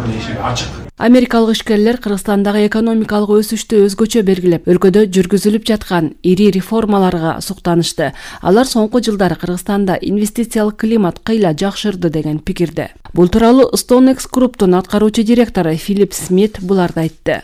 банктын эшиги ачык. Америкалык ишкерлер Кыргызстандагы экономикалык өсүштү өзгөчө белгилеп, өлкөдө жүргүзүлүп жаткан ири реформаларга суктанышты. Алар соңку жылдары Кыргызстанда инвестициялык климат кыйла жакшырды деген пикирде. Бул тууралуу StoneX Group'тун аткаруучу директору Филипп Смит буларды айтты.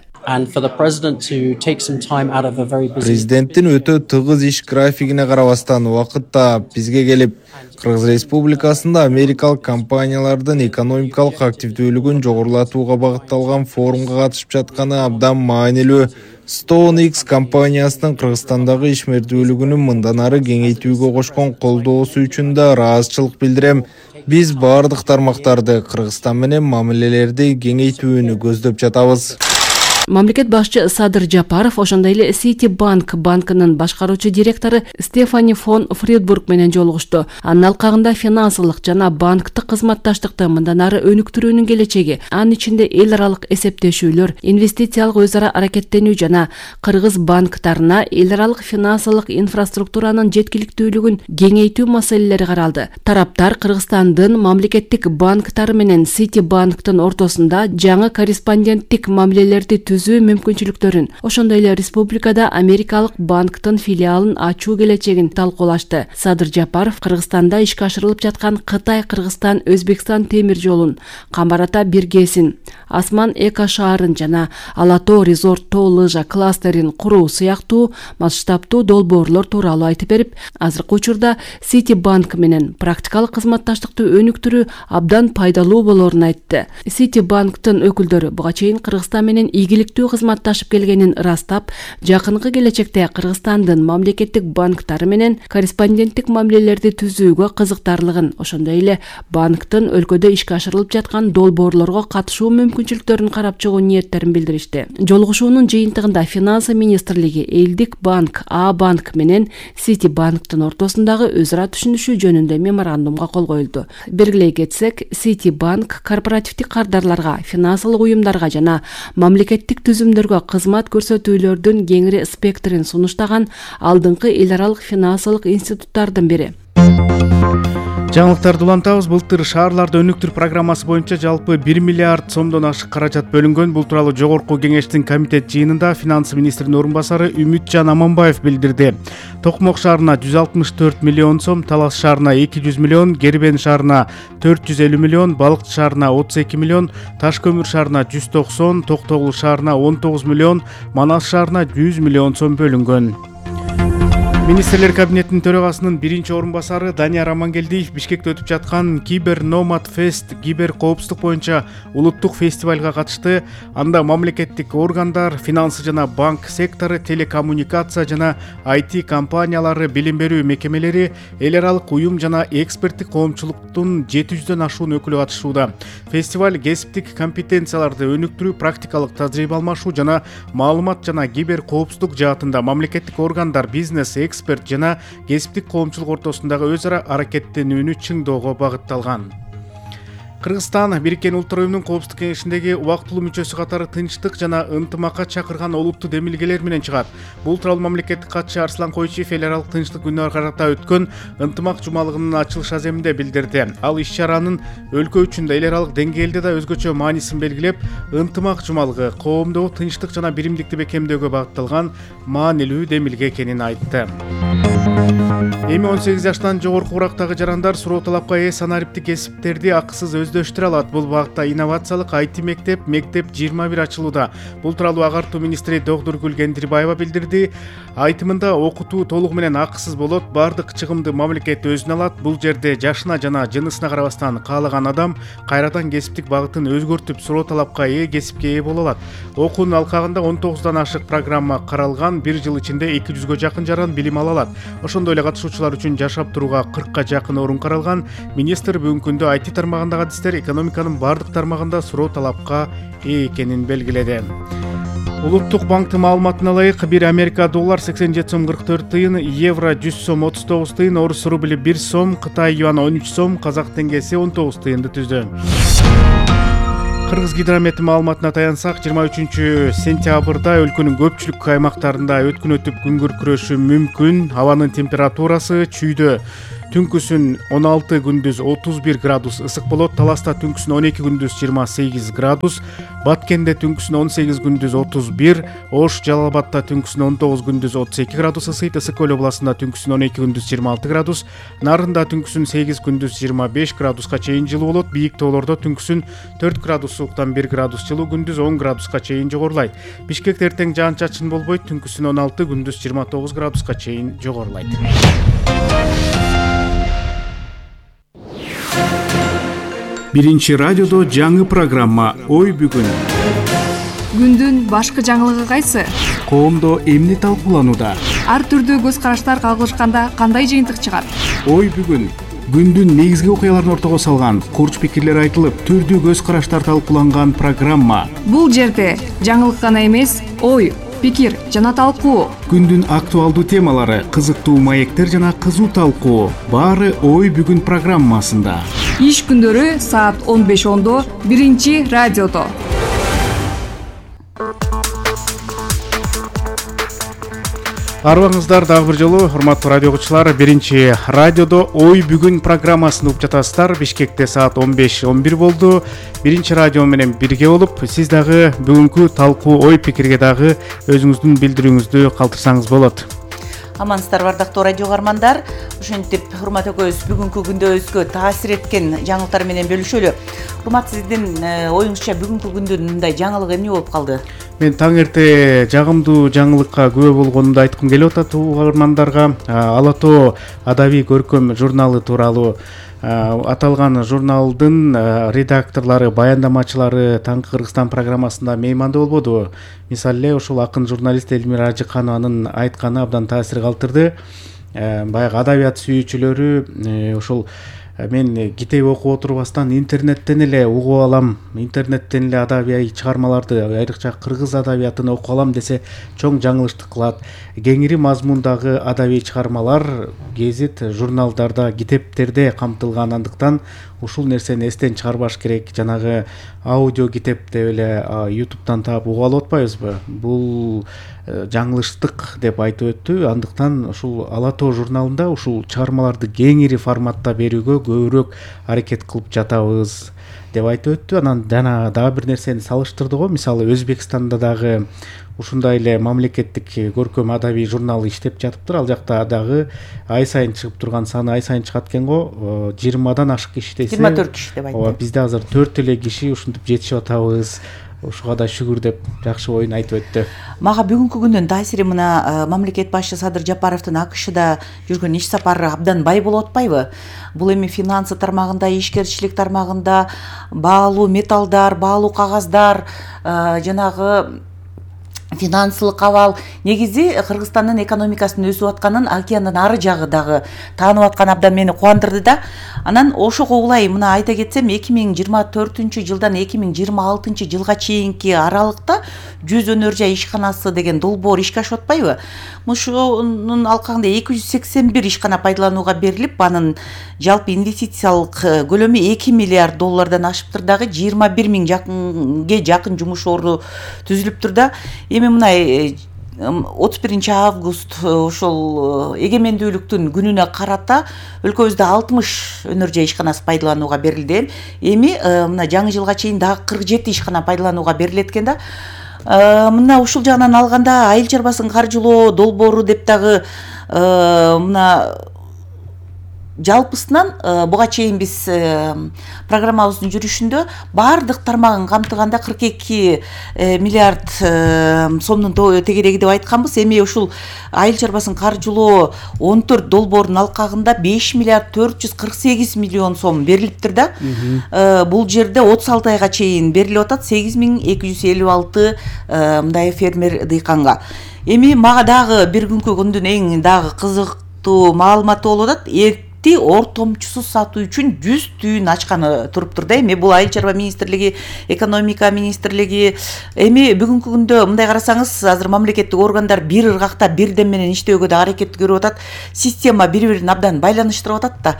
Президенттин өтө тыгыз иш графигине карабастан убакытта бизге келип, Кыргыз Республикасында америкалык компаниялардын экономикалык активдүүлүгүн жогорулатууга багытталган форумга катышып жатканы абдан маанилүү. StoneX компаниясынын Кыргызстандагы ишмердүүлүгүнүн мындан ары кеңейтүүгө кошкон колдоосу үчүн да ыраазычылык билдирем. Биз бардык тармактарды Кыргызстан менен мамилелерди кеңейтүүнү көздөп жатабыз. Мамлекет башчы Садыр Жапаров ошондой эле Citibank банкынын башкаруучу директору Стефани фон Фридбург менен жолугушту. Анын алкагында финансылык жана банктык кызматташтыкты мындан ары өнүктүрүүнүн келечеги, анын ичинде эл аралык эсептешүүлөр, инвестициялык өз ара аракеттенүү жана кыргыз банктарына эл аралык финансылык инфраструктуранын жеткиликтүүлүгүн кеңейтүү маселелери каралды. Тараптар Кыргызстандын мамлекеттик банктары менен Citibanktын ортосунда жаңы корреспонденттик мамилелерди түзүү мүмкүнчүлүктөрүн, ошондой эле республикада америкалык банктын филиалын ачуу келечегин талкуулашты. Садыр Жапаров Кыргызстанда ишке ашырылып жаткан Кытай-Кыргызстан-Өзбекстан темир жолун, Камбар Ата биргесин, Асман эко шаарын жана Ала Тоо резорт тоо лыжа кластерин куруу сыяктуу масштабтуу долбоорлор тууралуу айтып берип, азыркы учурда Citibank менен практикалык кызматташтыкты өнүктүрүү абдан пайдалуу болоорун айтты. Citibanktын өкүлдөрү буга чейин Кыргызстан менен ийгиликтүү кызматташып келгенин ырастап, жакынкы келечекте Кыргызстандын мамлекеттик банктары менен корреспонденттик мамилелерди түзүүгө кызыктарлыгын, ошондой эле банктын өлкөдө ишке ашырылып жаткан долбоорлорго катышуу мүмкүнчүлүктөрүн карап чыгуу ниеттерин билдиришти. Жолугушуунун жыйынтыгында Финансы министрлиги Элдик банк, А-банк менен Citibanktын ортосундагы өз ара түшүнүшүү жөнүндө меморандумга кол коюлду. Белгилей кетсек, Citibank корпоративдик кардарларга, финансылык уюмдарга жана мамлекеттик түзүмдөргө кызмат көрсөтүүлөрдүн кеңири спектрин сунуштаган алдыңкы эл аралык финансылык институттардын бири. Жаңылыктарды улантабыз. Былтыр шаарларды өнүктүр программасы боюнча жалпы 1 миллиард сомдон ашык каражат бөлүнгөн. Бул тууралуу жогорку кеңештин комитет жыйынында финансы министринин орун басары Үмүтжан Аманбаев билдирди. Токмок шаарына 164 миллион сом, Талас шаарына 200 миллион, Кербен шаарына 450 миллион, Балыкчы шаарына 32 миллион, Таш көмүр шаарына 190, Токтогул шаарына 19 миллион, Манас шаарына 100 миллион сом бөлүнгөн. Министрлер кабинетинин төрагасынын биринчи орун басары Данияр Амангелдиев Бишкекте өтүп жаткан Кибер Номад Фест кибер коопсуздук боюнча улуттук фестивалга катышты. Анда мамлекеттик органдар, финансы жана банк сектору, телекоммуникация жана IT компаниялары, билим берүү мекемелери, эл аралык уюм жана эксперттик коомчулуктун 700дөн ашуун өкүлү катышууда. Фестиваль кесиптик компетенцияларды өнүктүрүү, практикалык тажрыйба алмашуу жана маалымат жана кибер коопсуздук жаатында мамлекеттик органдар, бизнес, эксперт жана кесиптик коомчулук ортосундагы өз ара аракеттенүүнү чыңдоого багытталган. Кыргызстан Бириккен Улуттар Уюмунун Коопсуздук кеңешиндеги убактылуу мүчөсү катары тынчтык жана ынтымакка чакырган олуттуу демилгелер менен чыгат. Бул тууралуу мамлекеттик катчы Арслан Койчиев эл аралык тынчтык күнүнө карата өткөн ынтымак жумалыгынын ачылыш аземинде билдирди. Ал иш-чаранын өлкө үчүн да эл аралык деңгээлде да өзгөчө маанисин белгилеп, ынтымак жумалыгы коомдогу тынчтык жана биримдикти бекемдөөгө багытталган маанилүү демилге экенин айтты. Эми 18 жаштан жогорку курактагы жарандар суроо талапка ээ санариптик кесиптерди акысыз өздөштүрө алат. Бул багытта инновациялык IT мектеп 21 ачылууда. Бул тууралуу агартуу министри Доктургүл Кендирбаева билдирди. Айтымында окутуу толугу менен акысыз болот, бардык чыгымды мамлекет өзүнө алат. Бул жерде жашына жана жынысына карабастан каалаган адам кайрадан кесиптик багытын өзгөртүп суроо талапка ээ кесипке ээ боло алат. Окуунун алкагында 19дан ашык программа каралган. 1 жыл ичинде 200гө жакын жаран билим ала алат. Ошондой эле катышуучулар үчүн жашап турууга 40ка жакын орун каралган. Министр бүгүнкү күндө IT тармагындагы адистер экономиканын бардык тармагында суроо талапка ээ экенин белгиледи. Улуттук банктын маалыматына ылайык, 1 Америка доллар 87 сом 44 тыйын, евро 100 сом 39 тыйын, орус рубли 1 сом, Кытай юаны 13 сом, казак теңгеси 19 тыйынды түздү. Кыргыз гидромет маалыматына таянсак, 23 сентябрда өлкөнүн көпчүлүк аймактарында өткүн өтүп күн күркүрөшү мүмкүн. Абанын температурасы чүйдө түнкүсүн 16 күндүз 31 градус ысык болот. Таласта түнкүсүн 12 күндүз 28 градус, Баткенде түнкүсүн 18 күндүз 31, Ош Жалал Абадта түнкүсүн 19 күндүз 32 градус ысыйт. Ысык көл областында түнкүсүн 12 күндүз 26 градус, Нарында түнкүсүн 8 күндүз 25 градуска чейин жылуу болот. Бийик тоолордо түнкүсүн 4 градус сууктан 1 градус жылуу, күндүз 10 градуска чейин жогорулайт. Бишкекте эртең жаан-чачын болбойт, түнкүсүн 16 күндүз 29 градуска чейин жогорулайт. Биринчи радиодо жаңы программа «Ой бүгүн». Күндүн башкы жаңылыгы кайсы? Коомдо эмне талкууланууда? Ар түрдүү көз караштар кагылышканда кандай жыйынтык чыгат? Ой бүгүн. Күндүн негизги окуяларын ортого салган, курч пикирлер айтылып, түрдүү көз караштар талкууланган программа. Бул жерде жаңылык гана эмес, ой, пикир жана талкуу. Күндүн актуалдуу темалары, кызыктуу маектер жана кызуу талкуу. Баары Ой бүгүн программасында. Иш күндөрү саат 15:10 биринчи радиодо. Арбаңыздар дагы бир жолу, урматтуу радио окуучулар, биринчи радиодо Ой бүгүн программасын угуп жатасыздар. Бишкекте саат 15:11 болду. Биринчи радио менен бирге болуп, сиз дагы бүгүнкү талкуу ой пикирге дагы өзүңүздүн билдирүүңүздү калтырсаңыз болот. Амансыздарбы ардактуу радио каармандар. Ошентип, урмат экөөбүз бүгүнкү күндөбүзгө таасир эткен жаңылыктар менен бөлүшөлү. Урмат, сиздин оюңузча бүгүнкү күндүн мындай жаңылыгы эмне болуп калды? Мен таң эрте жагымдуу жаңылыкка күбө болгонумду айткым келип атат угармандарга. Ала тоо адабий көркөм журналы тууралуу. Аталган журналдын редакторлору, баяндамачылары Таңкы Кыргызстан программасында мейманда болбоду. Мисалы эле ушул акын журналист Элмира Ажыканованын айтканы абдан таасир калтырды. Баягы адабият сүйүүчүлөрү ушул мен китеп окуп отурбастан интернеттен эле угуп алам, интернеттен эле адабий чыгармаларды, айрыкча кыргыз адабиятын окуп алам десе чоң жаңылыштык кылат. Кеңири мазмундагы адабий чыгармалар гезит, журналдарда, китептерде камтылган, андыктан ушул нерсени эстен чыгарбаш керек. Жанагы аудио китеп деп эле YouTube'дан таап угуп алып атпайбызбы? Бул жаңылыштык деп айтып өттү. Андыктан ушул Ала тоо журналында ушул чыгармаларды кеңири форматта берүүгө көбүрөөк аракет кылып жатабыз деп айтып өттү. Анан жана дагы бир нерсени салыштырды го. Мисалы Өзбекстанда дагы ушундай эле мамлекеттик көркөм адабий журнал иштеп жатыптыр. Ал жакта дагы ай сайын чыгып турган саны ай сайын чыгат экен го. 20-дан ашык киши десе, 24 киши деп айтты. Бизде азыр 4 эле киши ушинтип жетишип атабыз. Ушуга да шүгүр деп жакшы оюн айтып өттү. Мага бүгүнкү күндүн таасири мына мамлекет башчы Садыр Жапаровдун АКШда жүргөн иш сапары абдан бай болуп атпайбы? Бул эми финансы тармагында, ишкерчилик тармагында, баалуу металлдар, баалуу кагаздар, жанагы финансылык абал, негизи Кыргызстандын экономикасынын өсүп атканын океандын ары жагы дагы таанып атканы абдан мени кубандырды да. Анан ошого улай мына айта кетсем, 2024-жылдан 2026 жылга чейинки аралыкта 100 өнөр жай ишканасы деген долбоор ишке ашып атпайбы? Мушунун алкагында 281 ишкана пайдаланууга берилип, анын жалпы инвестициялык көлөмү 2 миллиард доллардан ашыптыр, дагы 21 миң жакын жумуш орду түзүлүптүр да. Эми мына 31 август ошол эгемендүүлүктүн күнүнө карата өлкөбүздө 60 өнөр жай ишканасы пайдаланууга берилди. Эми мына жаңы жылга чейин дагы 47 ишкана пайдаланууга берилет экен да. Мына ушул жагынан алганда айыл чарбасын каржылоо долбоору деп дагы мына жалпысынан буга чейин биз программабыздын жүрүшүндө баардык тармагын камтыганда 42 миллиард сомдун тегереги деп айтканбыз. Эми ушул айыл чарбасын каржылоо 14 долбоордун алкагында 5 миллиард 448 миллион сом берилиптир да. Бул жерде 36 айга чейин берилип атат 8256 мындай фермер дыйканга. Эми мага дагы бир күнкү күндүн эң дагы кызыктуу маалыматы болуп атат. Ортомчусуз сатуу үчүн 100 түйүн ачканы туруптур да. Эми бул айыл чарба министрлиги, экономика министрлиги. Эми бүгүнкү күндө мындай карасаңыз, азыр мамлекеттик органдар бир ыргакта бирден менен иштөөгө да аракет көрүп атат. Система бири-бирин абдан байланыштырып атат да.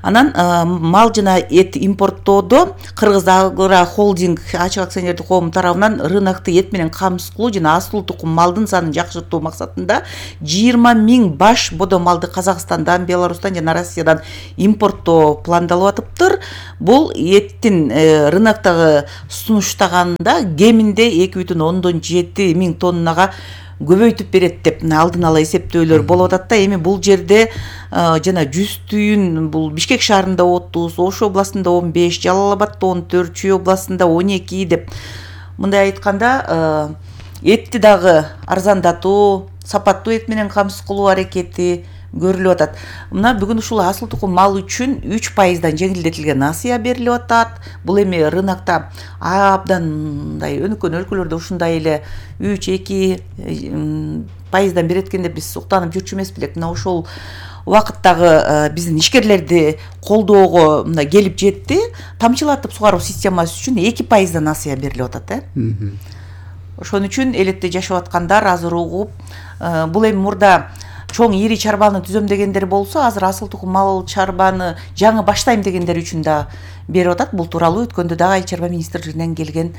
Анан мал жана эт импорттоодо Кыргыз Агро холдинг ачык акционердик коому тарабынан рынокты эт менен камсыздуу жана асыл тукум малдын санын жакшыртуу максатында 20 миң баш бодо малды Казакстандан, Беларустан жана Россиядан Башкортостондан импорттоо пландалып атыптыр. Бул эттин рыноктогу сунуштаганда кеминде 2,7 миң тоннага көбөйтүп берет деп алдын ала эсептөөлөр болуп атат да. Эми бул жерде жана жүз түйүн бул Бишкек шаарында 30, Ош областында 15, Жалал Абадта 14, Чүй областында 12 деп. Мындай айтканда этти дагы арзандатуу, сапаттуу эт менен камсыз кылуу аракети көрүлүп атат. Мына бүгүн ушул асыл тукум мал үчүн 3%дан жеңилдетилген насыя берилип атат. Бул эми рынокто абдан мындай өнүккөн өлкөлөрдө ушундай эле 3-2%дан берет экен деп биз уктанып жүрчү эмес белек. Мына ошол убакыттагы биздин ишкерлерди колдоого мындай келип жетти. Тамчылатып сугаруу системасы үчүн 2%дан насыя берилип атат. Ошон үчүн элетте жашап аткандар азыр угуп, бул эми мурда чоң ири чарбаны түзөм дегендер болсо, азыр асыл тукум мал чарбаны жаңы баштайм дегендер үчүн да берип атат. Бул тууралуу өткөндө дагы Айыл чарба министрлигинен келген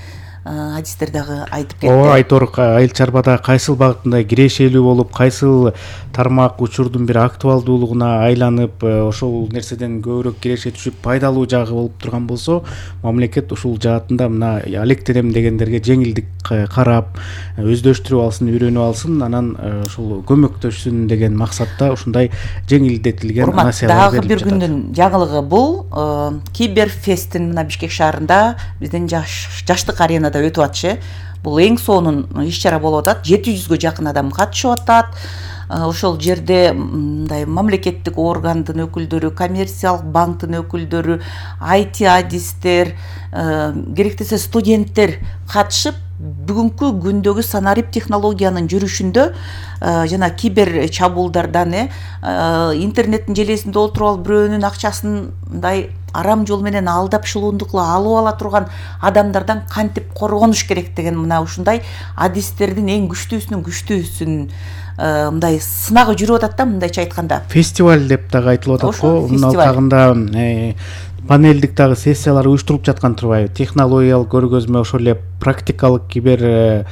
адистер дагы айтып кетти. Ооба, Айтор, айыл чарбада кайсыл багытында кирешелүү болуп, кайсыл тармак учурдун бир актуалдуулугуна айланып, ошол нерседен көбүрөөк киреше түшүп пайдалуу жагы болуп турган болсо, мамлекет ушул жаатында мына алектенем дегендерге жеңилдик карап, өздөштүрүп алсын, үйрөнүп алсын, анан ушул көмөктөшсүн деген максатта ушундай жеңилдетилген насыялар берилип жатат. Дагы бир күндүн жаңылыгы бул Киберфесттин мына Бишкек шаарында биздин жаштык аренада өтүп атчы. Бул эң сонун иш-чара болуп атат. 700гө жакын адам катышып атат. Ошол жерде мындай мамлекеттик органдын өкүлдөрү, коммерциялык банктын өкүлдөрү, IT адистер, керектесе студенттер катышып, бүгүнкү күндөгү санарип технологиянын жүрүшүндө жана кибер чабуулдардан интернеттин желесинде отуруп алып бирөөнүн акчасын мындай арам жол менен алдап шылуундукла алып ала турган адамдардан кантип коргонуш керек деген мына ушундай адистердин эң күчтүүсүнүн мындай сынагы жүрүп атат да, мындайча айтканда. Фестиваль деп дагы айтылып атат го. Мына алкагында панелдик дагы сессиялар уюштуруп жаткан турбайбы? Технологиялык көргөзмө, ошол эле практикалык кибер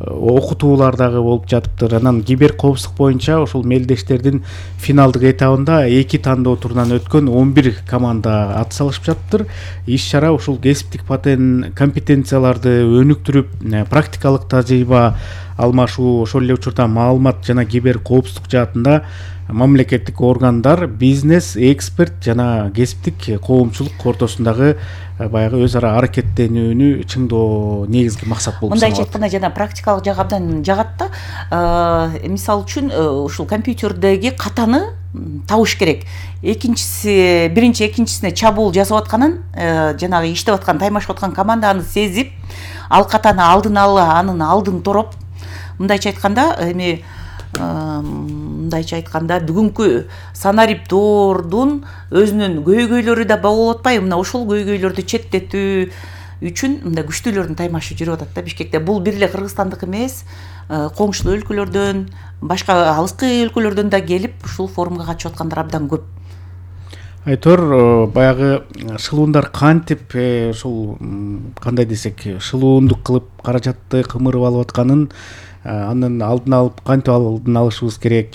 окутуулар дагы болуп жатыптыр. Анан кибер коопсуздук боюнча ошол мелдештердин финалдык этабында 2 тандоо турунан өткөн 11 команда ат салышып жатыптыр. Иш-чара ушул кесиптик компетенцияларды өнүктүрүп, практикалык тажрыйба алмашуу, ошол эле учурда маалымат жана кибер коопсуздук жаатында мамлекеттик органдар, бизнес, эксперт жана кесиптик коомчулук ортосундагы баягы өз ара аракеттенүүнү чыңдоо негизги максат болуп саналат. Мындайча айтканда жана практикалык жагы абдан жагат да. Мисалы үчүн ушул компьютердеги катаны табыш керек. Биринчи экинчисине чабуул жасап атканын, жанагы иштеп аткан, таймашып аткан команда аны сезип, ал катаны алдын ала анын алдын тороп, мындайча айтканда эми мындайча айтканда бүгүнкү санариптоордун өзүнүн көйгөйлөрү да болуп атпайбы? Мына ошол көйгөйлөрдү четтетүү үчүн мындай күчтүүлөрдүн таймашы жүрүп атат да Бишкекте. Бул бир эле Кыргызстандык эмес, коңшулуу өлкөлөрдөн, башка алыскы өлкөлөрдөн да келип ушул форумга катышып аткандар абдан көп. Айтор, баягы шылуундар кантип ушул кандай десек, шылуундук кылып каражатты кымырып алып атканын, анын алдын алып кантип алдын алышыбыз керек,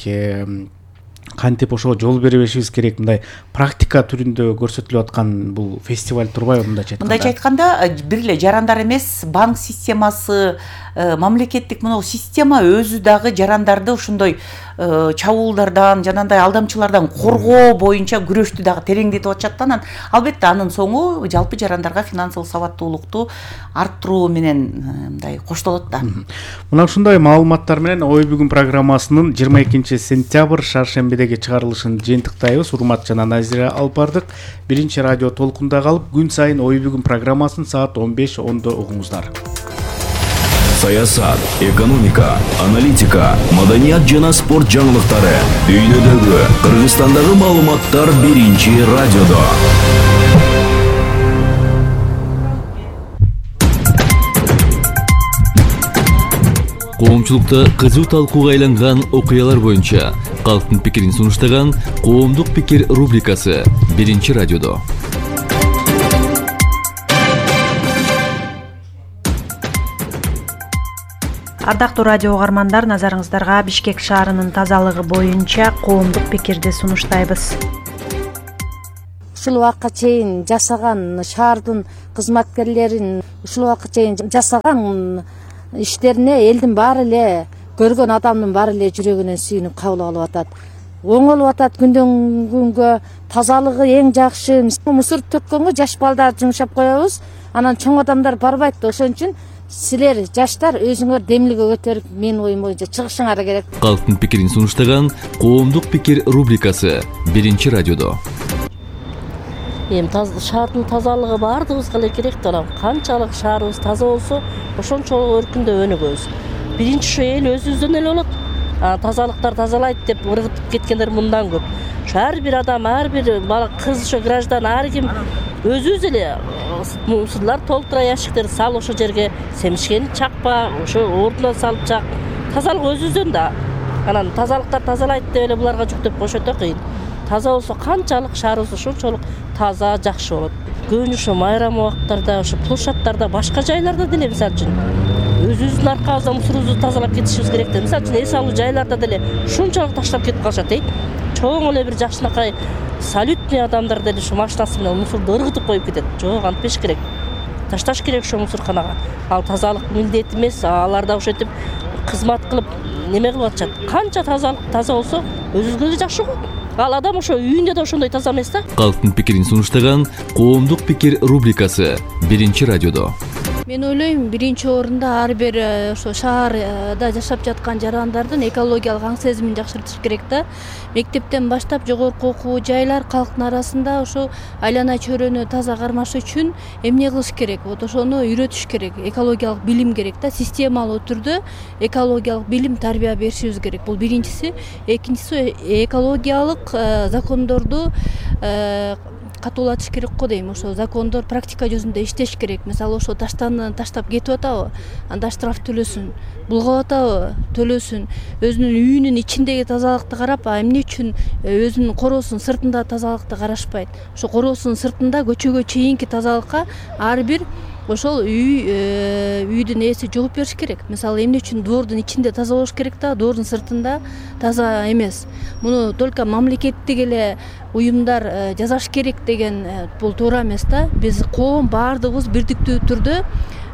кантип ошого жол бербешибиз керек, мындай практика түрүндө көрсөтүлүп аткан бул фестиваль турбайбы мындайча айтканда? Мындайча айтканда, бир эле жарандар эмес, банк системасы, мамлекеттик мына система өзү дагы жарандарды ошондой чабуулдардан, жанагындай алдамчылардан коргоо боюнча күрөштү дагы тереңдетип атышат. Анан албетте анын соңу жалпы жарандарга финансылык сабаттуулукту арттыруу менен мындай коштолот да. Мына ушундай маалыматтар менен Ой бүгүн программасынын 22 сентябрь шаршембидеги чыгарылышын жыйынтыктайбыз. Урмат жана Назира алып бардык. Биринчи радио толкунда калып, күн сайын Ой бүгүн программасын саат 15:10 угуңуздар. Саясат, экономика, аналитика, маданият жана спорт жаңылыктары, дүйнөдөгү, Кыргызстандагы маалыматтар биринчи радиодо. Коомчулукта кызуу талкууга айланган окуялар боюнча калктын пикирин сунуштаган Коомдук пикир рубрикасы биринчи радиодо. Ардактуу радио угармандар, назарыңыздарга Бишкек шаарынын тазалыгы боюнча коомдук пикирди сунуштайбыз. ушул убакка чейин жашаган шаардын кызматкерлерин ушул убакка чейин жасаган иштерине элдин баары эле көргөн адамдын баары эле жүрөгүнөн сүйүнүп кабыл алып атат. Оңолуп атат күндөн күнгө. Тазалыгы эң жакшы. Мусор төккөнгө жаш балдар жумшап коебуз. Анан чоң адамдар барбайт. Ошон үчүн силер жаштар өзүңөр демилге көтөрүп менин оюм боюнча чыгышыңар керек. Калктын пикирин сунуштаган Коомдук пикир рубрикасы 1-радиодо. Шаардын тазалыгы баардыгыбызга эле керек да. Канчалык шаарыбыз таза болсо, ошончолук өркүндөп өнүгөбүз. Биринчи ушу эл өзүбүздөн эле болот. Тазалыктар тазалайт деп ыргытып кеткендер мындан көп. Ар бир адам, ар бир бала, кыз, ошо граждан, ар ким өзүбүз эле мусорлар толтура, ящиктерди сал, ошо жерге семишкени чакпа, ошо ордуна салып чак. Тазалык өзүбүздөн да. Анан тазалыктар тазалайт деп эле буларга жүктөп коюш өтө кыйын. Таза болсо канчалык шаарыбыз ошончолук таза, жакшы болот. Көбүнчө ошо майрам убактарда, ошо площадьтарда, башка жайларда деле мисалы үчүн өзүбүздүн аркабызда мусорубузду тазалап кетишибиз керек да. Мисалы үчүн эс алуу жайларда деле ушунчалык таштап кетип калышат. Чоң эле бир жакшынакай салютный адамдар деле ушу машинасы менен мусорду ыргытып коюп кетет. Жок, антпеш керек. Ташташ керек ошо мусорканага. Ал тазалык милдет эмес, алар да ошентип кызмат кылып неме кылып атышат. Канча тазалык таза болсо өзүбүзгө эле жакшы го. Ал адам ошо үйүндө да ошондой таза эмес да. Калктын пикирин сунуштаган Коомдук пикир рубрикасы 1-радиодо. Мен ойлойм, биринчи орунда ар бир ошо шаарда жашап жаткан жарандардын экологиялык аң сезимин жакшыртыш керек да. Мектептен баштап жогорку окуу жайлар калктын арасында ошо айлана чөйрөнү таза кармаш үчүн эмне кылыш керек? Вот ошону үйрөтүш керек. Экологиялык билим керек да. Системалуу түрдө экологиялык билим, тарбия беришибиз керек. Бул биринчиси. Экинчиси экологиялык закондорду катуулатыш керек го дейм. Ошо закондор практика жүзүндө иштеш керек. Мисалы ошо таштап кетип атабы, анда штраф төлөсүн. Булгап атабы, төлөсүн. Өзүнүн үйүнүн ичиндеги тазалыкты карап, эмне үчүн өзүнүн короосунун сыртында тазалыкты карашпайт? Ошо короосунун сыртында көчөгө чейинки тазалыкка ар бир ошол үйдүн ээси жооп бериш керек. Мисалы, эмне үчүн двордун ичинде таза болуш керек да, двордун сыртында таза эмес. Муну только мамлекеттик эле уюмдар жасаш керек деген бул туура эмес да. Биз коом баардыгыбыз бирдиктүү түрдө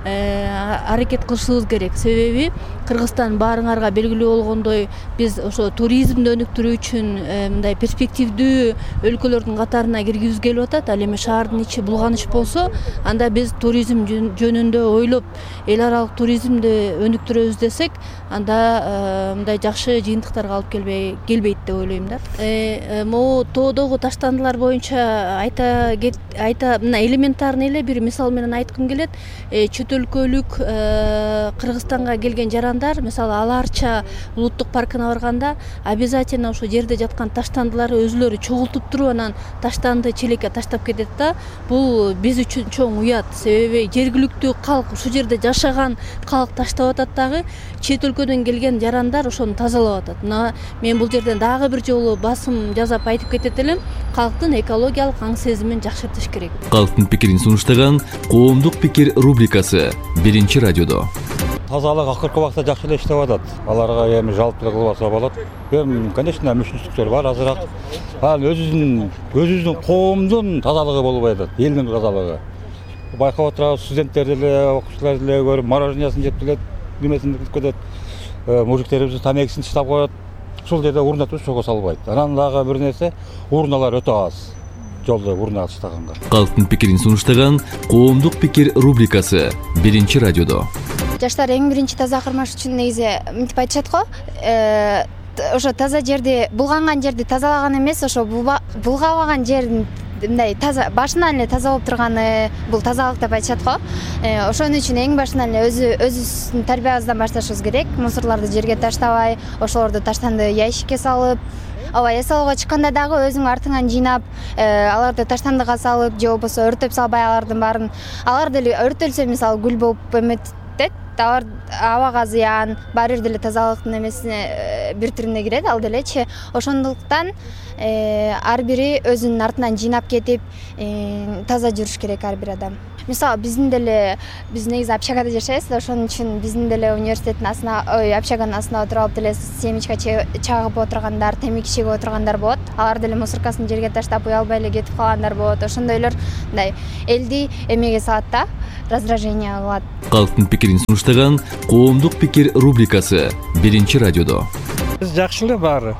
аракет кылышыбыз керек. Себеби Кыргызстан баарыңарга белгилүү болгондой, биз ошо туризмди өнүктүрүү үчүн мындай перспективдүү өлкөлөрдүн катарына киргизибиз келип атат. Ал эми шаардын ичи булганыч болсо, анда биз туризм жөнүндө ойлоп, эл аралык туризмди өнүктүрөбүз десек, анда мындай жакшы жыйынтыктарга алып келбейт деп ойлойм да. Могу тоодогу таштандылар боюнча мына элементарный эле бир мисал менен айткым келет. Чөт өлкөлүк Кыргызстанга келген жарандар, мисалы Аларча улуттук паркына барганда, обязательно ошо жерде жаткан таштандыларды өзүлөрү чогултуп туруп, анан таштанды челекке таштап кетет да. Бул биз үчүн чоң уят. Себеби жергиликтүү калк, ушул жерде жашаган калк таштап атат дагы, чет өлкөдөн келген жарандар ошону тазалап атат. Мына мен бул жерден дагы бир жолу басым жазап айтып кетет элем, калктын экологиялык аң сезимин жакшыртыш керек. Калктын пикирин сунуштаган Коомдук пикир рубрикасы 1-радиодо. Тазалык акыркы убакта жакшы эле иштеп атат. Аларга эми жалпы кылбаса болот. Конечно, мүмкүнчүлүктөр бар азыраак. Ал өзүбүздүн коомдун тазалыгы болбой атат, элдин тазалыгы. Байкап отурабыз, студенттер деле, окуучулар деле көрүп, морожениясын жеп келет, немесин кылып кетет. Мужиктерибиз тамекисин чыштап коет. Ушул жерде урна чогуу салбайт. Анан дагы бир нерсе, урналар өтө аз. Жолдо урна алыштаганга. Калктын пикирин сунуштаган Коомдук пикир рубрикасы 1-радиодо. Жаштар эң биринчи таза кармаш үчүн негизи мынтип айтышат го. Ошо таза жерди, булганган жерди тазалаган эмес, ошо булгабаган жердин мындай таза башынан эле таза болуп турганы бул тазалык деп айтышат го. Ошон үчүн эң башынан эле өзүбүздүн тарбиябыздан башташыбыз керек. Мусорлорду жерге таштабай, ошолорду таштанды ящикке салып, эс алууга чыкканда дагы өзүң артыңан жыйнап, аларды таштандыга салып, же болбосо өртөп салбай алардын баарын. Алар деле өртөлсө, мисалы, гүл болуп эметет, алар абага зыян, баары бир деле тазалыктын эмесине бир түрүнө кирет, ал делечи. Ошондуктан ар бири өзүнүн артынан жыйнап кетип, таза жүрүш керек ар бир адам. мисалы биз негизи общагада жашайбыз да, ошон үчүн биздин деле университеттин общаганын астына отуруп алып деле семечка чагып отургандар, темеки чегип отургандар болот. Алар деле мусоркасын жерге таштап уялбай эле кетип калгандар болот. Ошондойлор мындай элди эмеге салат да, раздражение кылат. Калктын пикирин сунуштаган коомдук пикир рубрикасы 1-радиодо. Жакшы эле баары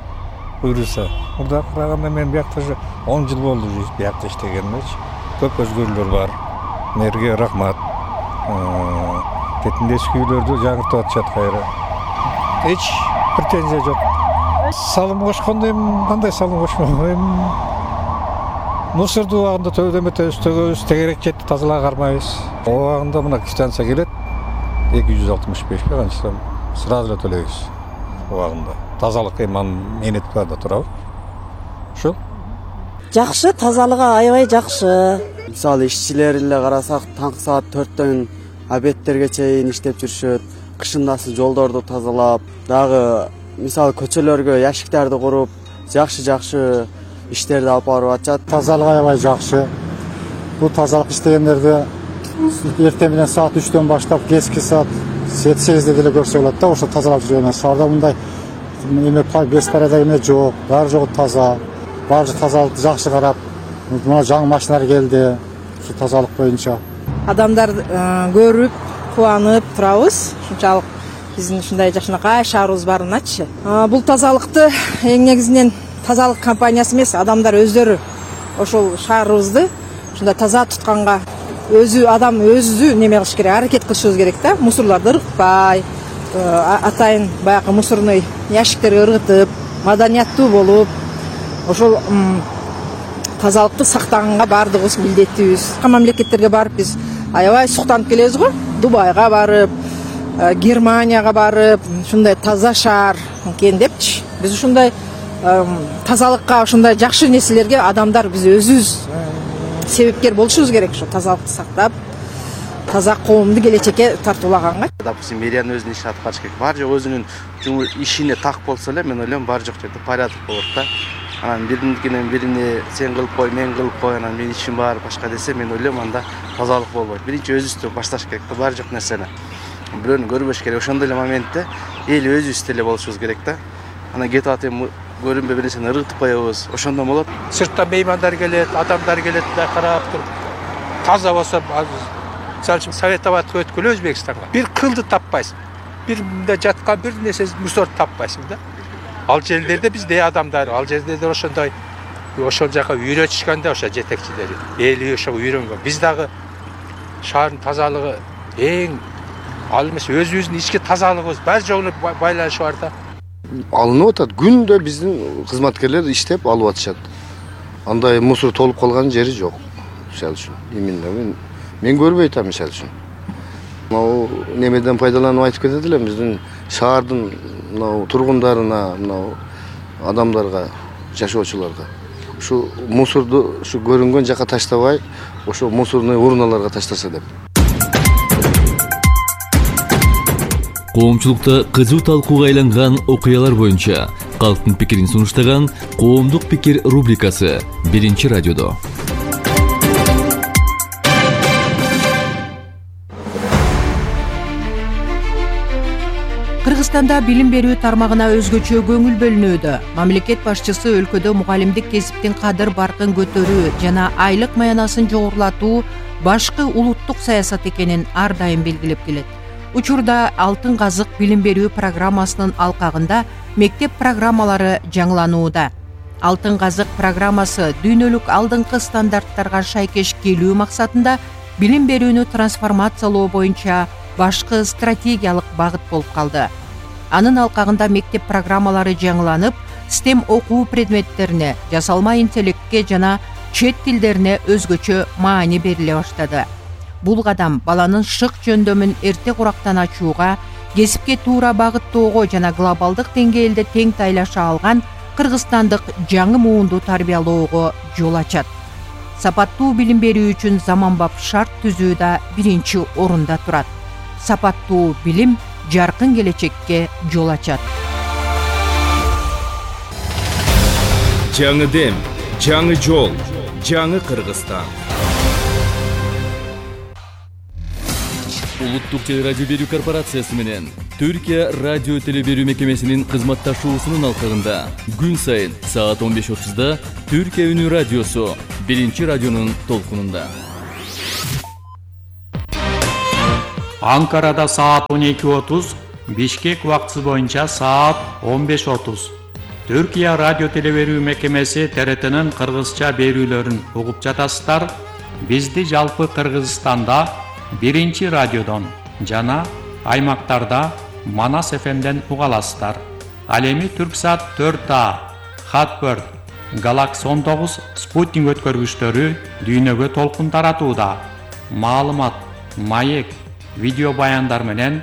буюрса. Мурда караганда мен биякта 10 жыл болду биякта иштегенмечи. Көп өзгөрүүлөр бар. Мэрге рахмат. Кетиндешки үйлөрдү жаңыртып атышат кайра. Эч претензия жок. Салым кошкондо кандай салым кошмок? Мусорду убагында төбөдөмөтөбүз, төгөбүз, тегерек жетти тазалап кармайбыз. Убагында мына квитанция келет. 265 канча сразу эле төлөйбүз. Убагында. Тазалык менет барда турабы. Ошо. Жакшы, тазалыгы аябай жакшы. Мисалы ишчилер эле карасак, таңкы саат 4төн обедтерге чейин иштеп жүрүшөт. Кышындасы жолдорду тазалап, дагы мисалы көчөлөргө яшиктерди куруп, жакшы иштерди алып барып атышат. Тазалык аябай жакшы. Бул тазалык иштегендерди эртең менен саат 3төн баштап кечки саат 7-8де деле көрсө болот да, ошо тазалап жүргөн. Шаарда мындай беспорядок эме жок, баары жогу таза. Баары тазалыкты жакшы карап, мына жаңы машиналар келди. Ушу тазалык боюнча. Адамдар көрүп, кубанып турабыз. Ушунчалык биздин ушундай жакшынакай шаарыбыз барыначы. Бул тазалыкты эң негизинен тазалык компаниясы эмес, адамдар өздөрү ошол шаарыбызды ушундай таза тутканга адам өзү неме кылыш керек, аракет кылышыбыз керек да. Мусорлорду ыргытпай, атайын баягы мусорный ящиктерге ыргытып, маданияттуу болуп, ошол тазалыкты сактаганга баардыгыбыз милдеттүүбүз. Мамлекеттерге барып биз аябай суктанып келебиз го. Дубайга барып, Германияга барып, ушундай таза шаар экен депчи. Биз ушундай тазалыкка, ушундай жакшы нерселерге адамдар биз өзүбүз себепкер болушубуз керек. Ошо тазалыкты сактап, таза коомду келечекке тартуулаганга. Допустим, мэриянын өзүнүн ишин аткарыш керек. Бар жок өзүнүн ишине так болсо эле, мен ойлойм бар жок жерде порядок болот да. Анан биринен бирине сен кылып кой, мен кылып кой, анан менин ишим бар, башка десе, мен ойлойм анда тазалык болбойт. Биринчи өзүбүздөн башташ керек да, бар жок нерсени. Бирөөнү көрбөш керек. Ошондой эле моментте эл өзүбүз деле болушубуз керек да. Анан кетип атып көрүнбөй бир нерсени ыргытып коебуз. Ошондо болот. Сырттан меймандар келет, адамдар келет да карап туруп. Таза болсо, мисалы үчүн Совет абадка өткөлө Өзбекстанга. Бир кылды таппайсың. Бир мында жаткан бир нерсе мусор таппайсың да. Ал жерлерде бизде адамдар, ал жерлерде ошондой ошол жака үйрөтүшкөн да ошо жетекчилери. Эли ошого үйрөнгөн. Биз дагы шаардын тазалыгы эң ал эмес өзүбүздүн ички тазалыгыбыз бар жогуна байланышы бар да. Алынып атат. Күндө биздин кызматкерлер иштеп алып атышат. Андай мусор толуп калган жери жок. Мисалы үчүн. Именно мен көрбөй атам мисалы үчүн. Мынау немеден пайдаланып айтып кетет элем биздин шаардын мынау тургундарына, мынау адамдарга, жашоочуларга. Ушу мусорду ушу көрүнгөн жака таштабай, ошо мусорный урналарга таштаса деп. Коомчулукта кызуу талкууга айланган окуялар боюнча калктын пикирин сунуштаган коомдук пикир рубрикасы 1-радиодо. Кыргызстанда билим берүү тармагына өзгөчө көңүл бөлүнүүдө. Мамлекет башчысы өлкөдө мугалимдик кесиптин кадыр баркын көтөрүү жана айлык маянасын жогорулатуу башкы улуттук саясат экенин ар дайым белгилеп келет. Учурда Алтын казык билим берүү программасынын алкагында мектеп программалары жаңыланууда. Алтын казык программасы дүйнөлүк алдыңкы стандарттарга шайкеш келүү максатында билим берүүнү трансформациялоо боюнча башкы стратегиялык багыт болуп калды. Анын алкагында мектеп программалары жаңыланып, STEM окуу предметтерине, жасалма интеллектке жана чет тилдерине өзгөчө маани бериле баштады. Бул кадам баланын шык жөндөмүн эрте курактан ачууга, кесипке туура багыттоого жана глобалдык деңгээлде тең тайлаша алган кыргызстандык жаңы муунду тарбиялоого жол ачат. Сапаттуу билим берүү үчүн заманбап шарт түзүү да биринчи орунда турат. Сапаттуу билим жаркын келечекке жол ачат. Жаңы дем, жаңы жол, жаңы Кыргызстан. Улуттук телерадио берүү корпорациясы менен Түркия радио теле берүү мекемесинин кызматташуусунун алкагында күн сайын саат 15:30 Түркия үнү радиосу 1-радионун толкунунда. Анкарада саат 12:30, Бишкек убактысы боюнча саат 15:30. Түркия радио теле берүү мекемеси ТРТнын кыргызча берүүлөрүн угуп жатасыздар. Бизди жалпы Кыргызстанда 1-радиодон жана аймактарда Манас ФМден уга аласыздар. Ал эми Түрксат 4А, Хатбird, Galaxy 19 спутник өткөргүчтөрү дүйнөгө толкун таратууда. Маалымат, маек, видео баяндар менен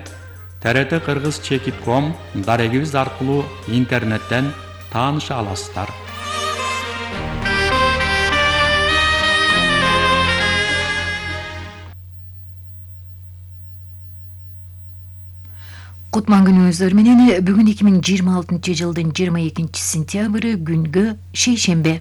TRT Кыргыз Чекит.com дарегибиз аркылуу интернеттен тааныша аласыздар. Кутман күнүңүздөр менен бүгүн 2026 жылдын 22 сентябры күнгө шейшембе.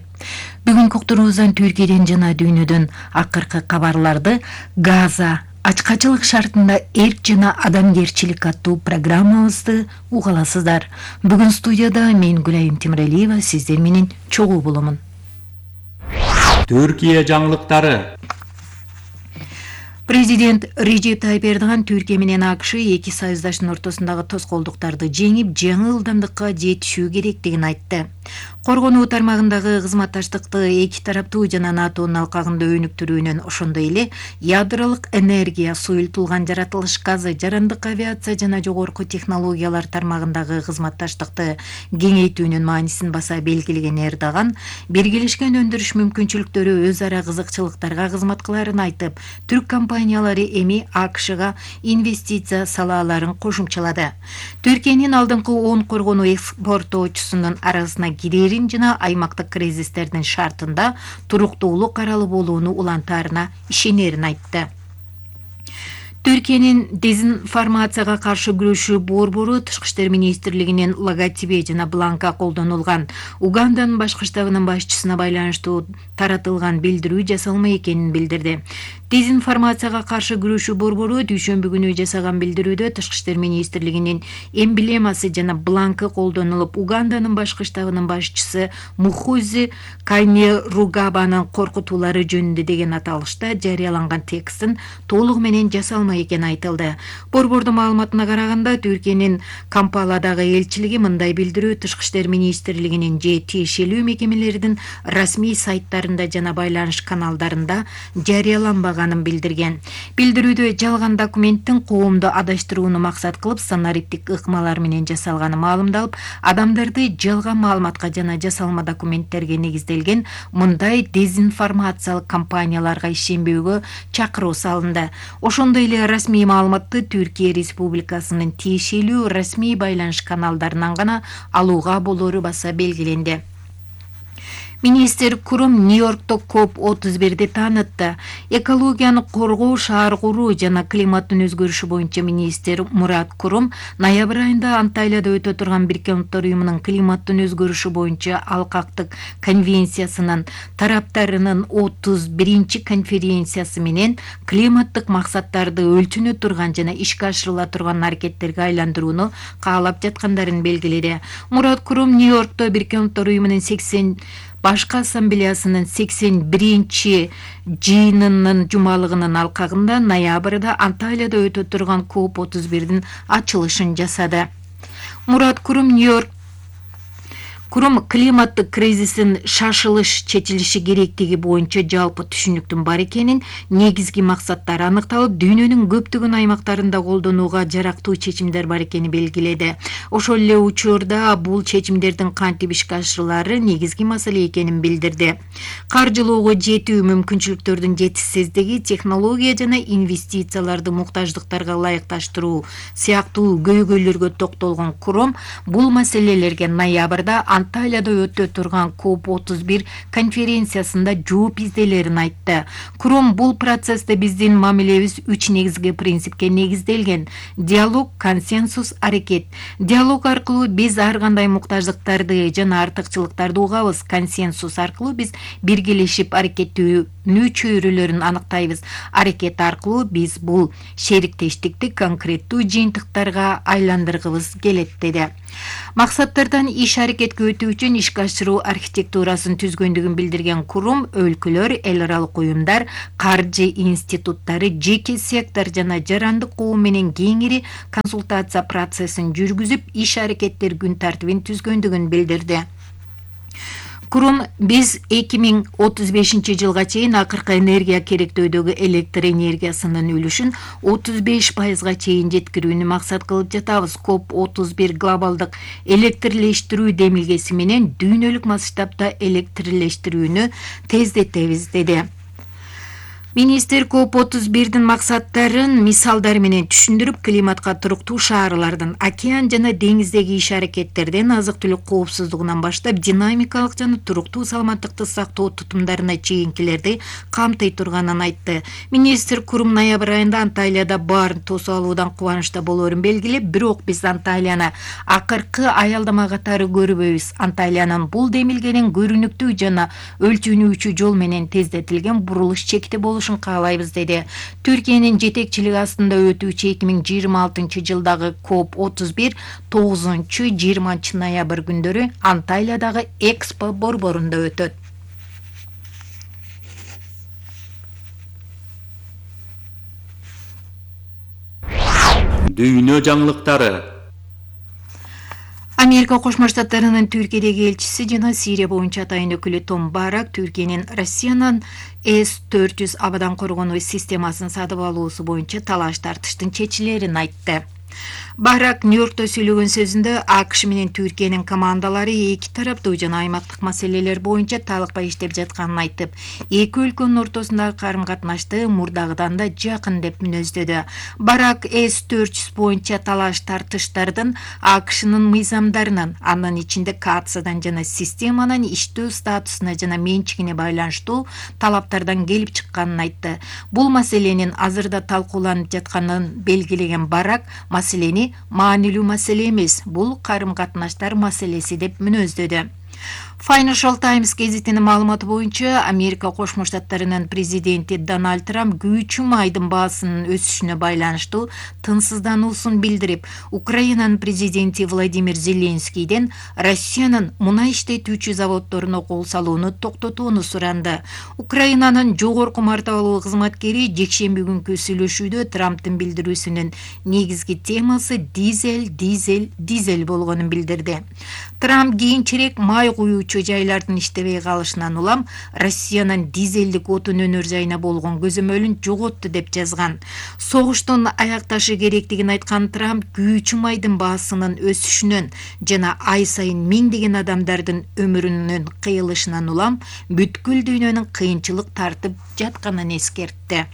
Бүгүн уктуруубуздан Түркияден жана дүйнөдөн акыркы кабарларды Газа ачкачылык шартында эрк жана адамгерчилик аттуу программабызды угаласыздар. Бүгүн студияда мен Гүлайым Темиралиева сиздер менен чогуу боломун. Түркия жаңылыктары. Президент Режеп Тайип Эрдоган Түркия менен АКШ эки союздаштын ортосундагы тоскоолдуктарды жеңип, жаңы ылдамдыкка жетишүү керектигин айтты. Коргонуу тармагындагы кызматташтыкты эки тараптуу жана НАТОнун алкагында өнүктүрүүнүн, ошондой эле ядролук энергия, суюлтулган жаратылыш газы, жарандык авиация жана жогорку технологиялар тармагындагы кызматташтыкты кеңейтүүнүн маанисин баса белгилеген Эрдоган, биргелешкен өндүрүш мүмкүнчүлүктөрү өз ара кызыкчылыктарга кызмат кыларын айтып, түрк компаниялары эми АКШга инвестиция салааларын кошумчалады. Түркиянын алдыңкы 10 коргонуу экспорттоочусунун арасына кирерин жана аймактык кризистердин шартында туруктуулук аралы болууну улантаарына ишенерин айтты. Түркиянын дезинформацияга каршы күрөшүү борбору Тышкы иштер министрлигинин логотиби жана бланка колдонулган Уганданын башкы штабынын башчысына байланыштуу таратылган билдирүү жасалма экенин билдирди. Дезинформацияга каршы күрөшүү борбору дүйшөмбү күнү жасаган билдирүүдө Тышкы иштер министрлигинин эмблемасы жана бланкы колдонулуп, Уганданын башкы штабынын башчысы Мухузи Кайнеругабанын коркутуулары жөнүндө деген аталышта жарыяланган текстин толугу менен жасалма экен айтылды. Борбордун маалыматына караганда, Түркиянын Кампаладагы элчилиги мындай билдирүү Тышкы иштер министрлигинин же тиешелүү мекемелердин расмий сайттарында жана байланыш каналдарында жарыяланбаганын билдирген. Билдирүүдө жалган документтин коомду адаштырууну максат кылып санариптик ыкмалар менен жасалганы маалымдалып, адамдарды жалган маалыматка жана жасалма документтерге негизделген мындай дезинформациялык кампанияларга ишенбөөгө чакыруу салынды. Ошондой эле расмий маалыматты Түркия Республикасынын тиешелүү расмий байланыш каналдарынан гана алууга болору баса белгиленди. Министр Курум Нью-Йоркто COP31-де таанытты. Экологияны коргоо, шаар куруу жана климаттын өзгөрүшү боюнча министр Мурат Курум ноябрь айында Анталияда өтө турган Бириккен Улуттар уюмунун климаттын өзгөрүшү боюнча алкактык конвенциясынын тараптарынын 31-чи конференциясы менен климаттык максаттарды өлчөнө турган жана ишке ашырыла турган аракеттерге айландырууну каалап жаткандарын белгиледи. Мурат Курум Нью-Йоркто Бириккен Улуттар уюмунун Башкы ассамблеясынын 81-чи жыйынынын жумалыгынын алкагында ноябрда Анталияда өтө турган COP31-дин ачылышын жасады. Мурат Курум климаттык кризистин шашылыш чечилиши керектиги боюнча жалпы түшүнүктүн бар экенин, негизги максаттар аныкталып, дүйнөнүн көптөгөн аймактарында колдонууга жарактуу чечимдер бар экени белгиледи. Ошол эле учурда бул чечимдердин кантип ишке ашырылаары негизги маселе экенин билдирди. Каржылоого жетүү мүмкүнчүлүктөрдүн жетишсиздиги, технология жана инвестицияларды муктаждыктарга ылайыкташтыруу сыяктуу көйгөйлөргө токтолгон Курум бул маселелерге ноябрда Анталияда өтө турган COP31 конференциясында жооп изделерин айтты. Курум бул процессте биздин мамилебиз 3 негизги принципке негизделген: диалог, консенсус, аракет. Диалог аркылуу биз ар кандай муктаждыктарды жана артыкчылыктарды угабыз. Консенсус аркылуу биз биргелешип аракеттүүнү чөйрөлөрүн аныктайбыз. Аракет аркылуу биз бул шериктештикти конкреттүү жыйынтыктарга айландыргыбыз келет деди. Максаттардан иш аракетке өтүү үчүн ишке ашыруу архитектурасын түзгөндүгүн билдирген курум өлкөлөр, эл аралык уюмдар, каржы институттары, жеке сектор жана жарандык коом менен кеңири консультация процессин жүргүзүп, иш аракеттер күн тартибин түзгөндүгүн билдирди. Курум биз 2035 жылга чейин акыркы энергия керектөөдөгү электр энергиясынын үлүшүн 35%га чейин жеткирүүнү максат кылып жатабыз. COP31 глобалдык электрлештирүү демилгеси менен дүйнөлүк масштабта электрлештирүүнү тездетебиз деди. Министр COP31-дин максаттарын мисалдар менен түшүндүрүп, климатка туруктуу шаарлардын, океан жана деңиздеги иш аракеттерден азык-түлүк коопсуздугунан баштап динамикалык жана туруктуу саламаттыкты сактоо тутумдарына чейинкилерди камтый турганын айтты. Министр курум ноябрь айында Анталияда баарын тосуп алуудан кубанычта болоорун белгилеп, бирок биз Анталияны акыркы аялдама катары көрбөйбүз. Анталиянын бул демилгенин көрүнүктүү жана өлчөнүүчү жол менен тездетилген бурулуш чекти болушун каалайбыз деди. Түркиянын жетекчилиги астында өтүүчү 2026 жылдагы COP31 9-20 ноябрь күндөрү Анталиядагы Экспо борборунда өтөт. Дүйнө жаңылыктары. Америка Кошмо Штаттарынын Түркиядеги элчиси жана Сирия боюнча атайын өкүлү Том Барак Түркиянын Россиянын С-400 абадан коргонуу системасын сатып алуусу боюнча талаш тартыштын чечилерин айтты. Барак Нью-Йоркто сүйлөгөн сөзүндө АКШ менен Түркиянын командалары эки тараптуу жана аймактык маселелер боюнча талыкпай иштеп жатканын айтып, эки өлкөнүн ортосундагы карым-катнашты мурдагыдан да жакын деп мүнөздөдү. Барак С-400 боюнча талаш тартыштардын АКШнын мыйзамдарынан, анын ичинде каацадан жана системанын иштөө статусуна жана менчигине байланыштуу талаптардан келип чыкканын айтты. Бул маселенин азырда талкууланып жатканын белгилеген Барак маселени маанилүү маселе эмес, бул карым-катнаштар маселеси деп мүнөздөдү. Financial Times гезитинин маалыматы боюнча Америка Кошмо Штаттарынын президенти Дональд Трамп күйүүчү майдын баасынын өсүшүнө байланыштуу тынчсыздануусун билдирип, Украинанын президенти Владимир Зеленскийден Россиянын мунай иштетүүчү заводдоруна кол салууну токтотууну суранды. Украинанын жогорку мартабалуу кызматкери жекшемби күнкү сүйлөшүүдө Трамптын билдирүүсүнүн негизги темасы дизель болгонун билдирди. Трамп кийинчерээк май куюучу жайлардын иштебей калышынан улам Россиянын дизелдик отун өнөр жайына болгон көзөмөлүн жоготту деп жазган. Согуштун аякташы керектигин айткан Трамп күйүүчү майдын баасынын өсүшүнөн жана ай сайын миңдеген адамдардын өмүрүнүн кыйылышынан улам бүткүл дүйнөнүн кыйынчылык тартып жатканын эскертти.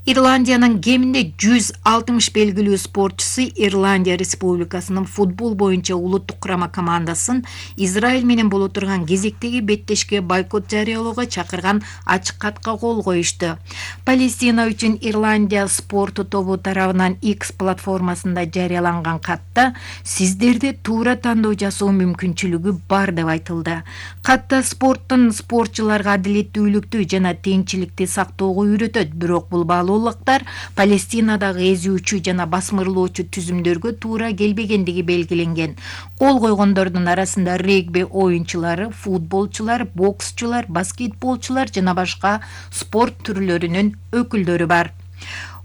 Ирландиянын кеминде 160 белгилүү спортчусу Ирландия Республикасынын футбол боюнча улуттук курама командасын Израиль менен боло турган кезектеги беттешке бойкот жарыялоого чакырган ачык катка кол коюшту. Палестина үчүн Ирландия спорту тобу тарабынан X платформасында жарыяланган катта сиздерде туура тандоо жасоо мүмкүнчүлүгү бар деп айтылды. Катта спорттун спортчуларга адилеттүүлүктү жана теңчиликти сактоого үйрөтөт, бирок бул баалуулуктар Палестинадагы эзүүчү жана басмырлоочу түзүмдөргө туура келбегендиги белгиленген. Кол койгондордун арасында регби оюнчулары, футболчулар, боксчулар, баскетболчулар жана башка спорт түрлөрүнүн өкүлдөрү бар.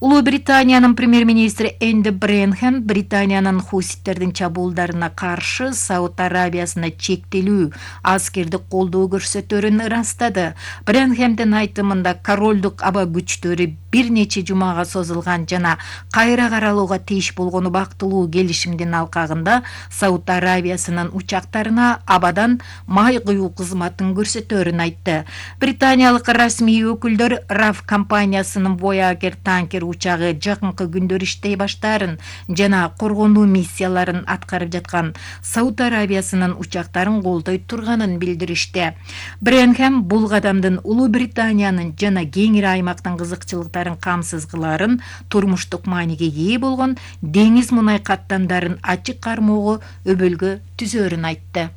Улуу Британиянын премьер-министри Энди Бренхэм Британиянын хуситтердин чабуулдарына каршы Сауд Арабиясына чектелүү аскердик колдоо көрсөтөөрүн ырастады. Бренхэмдин айтымында королдук аба күчтөрү бир нече жумага созулган жана кайра каралууга тийиш болгон убактылуу келишимдин алкагында Сауд Арабиясынын учактарына абадан май куюу кызматын көрсөтөөрүн айтты. Британиялык расмий өкүлдөр RAF компаниясынын Voyager танкер учагы жакынкы күндөр иштей баштаарын жана коргонуу миссияларын аткарып жаткан Сауд Арабиясынын учактарын колдой турганын билдиришти. Бренхэм бул кадамдын Улуу Британиянын жана кеңири аймактын кызыкчылыктарын камсыз кылаарын, турмуштук мааниге ээ болгон деңиз мунай каттамдарын ачык кармоого өбөлгө түзөөрүн айтты.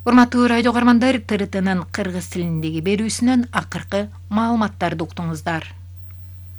Урматтуу радио угармандар, ТРТнын кыргыз тилиндеги берүүсүнөн акыркы маалыматтарды уктуңуздар.